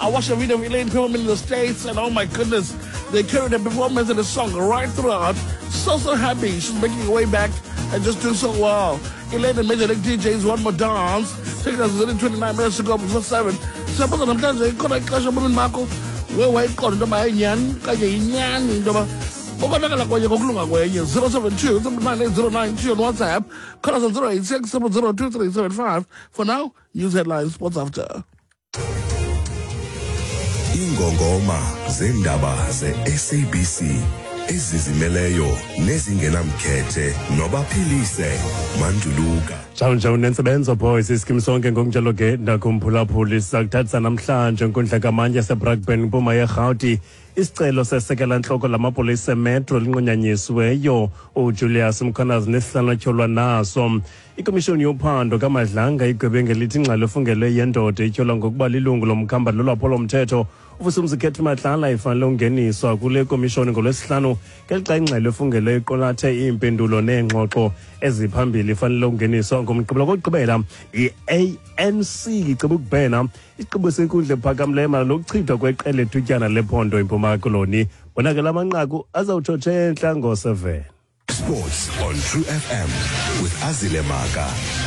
I watched a video of Elaine performing in the States, and oh my goodness, they carried her performance and the song right throughout. So, so happy. She's making her way back and just doing so well. Elaine and Major League DJs, One More Dance. Taking us 29 minutes to go before 7. Siyabuza namhlanje ikhona ixesha ebomini bakho we wayiqonda into yoba yinyani okanye yinyani into yoba ukonakala kwenye ngokulunga kwenye. 072 798 on WhatsApp. Call us on 086 002 For now, news headlines, sports after. Ingongoma zeendaba ze-SABC ezizimeleyo nezingenamkhethe nobaphilise Manduluka. Njalo njalo nentsebenzo boys iskim sonke ngokunjalo ke ndakumphulaphuli sizakuthathisa namhlanje nkundla kamantyi yaseBrakpan mpuma yeRhawuti. Isicelo sesekela ntloko lamapolisa emetro linqunyanyisiweyo uJulius Mkhwanazi nesihlanu atyholwa naso. Ikomishoni yophando kaMadlanga igwebe ngelithi ingxelo efungelwe yendoda ityholwa ngokuba lilungu lomkhambali lolwaphulo-mthetho uVusumuzi Khethi Matlala ifanele ungeniswa kule komishoni ngoLwesihlanu, ngelixa ingxelo efungelwe iqulathe iimpendulo neengxoxo eziphambili ifanele ungeniswa ngoMgqibelo. Kokugqibela, i-ANC iceba ukubhena isigqibo senkundla ephakamileyo mayelana nokuchithwa kweqela ethutyana lephondo iMpuma Koloni. Bona ke la manqaku azawutshotsha entla ngo-7. Sports on True FM with Azile Maka.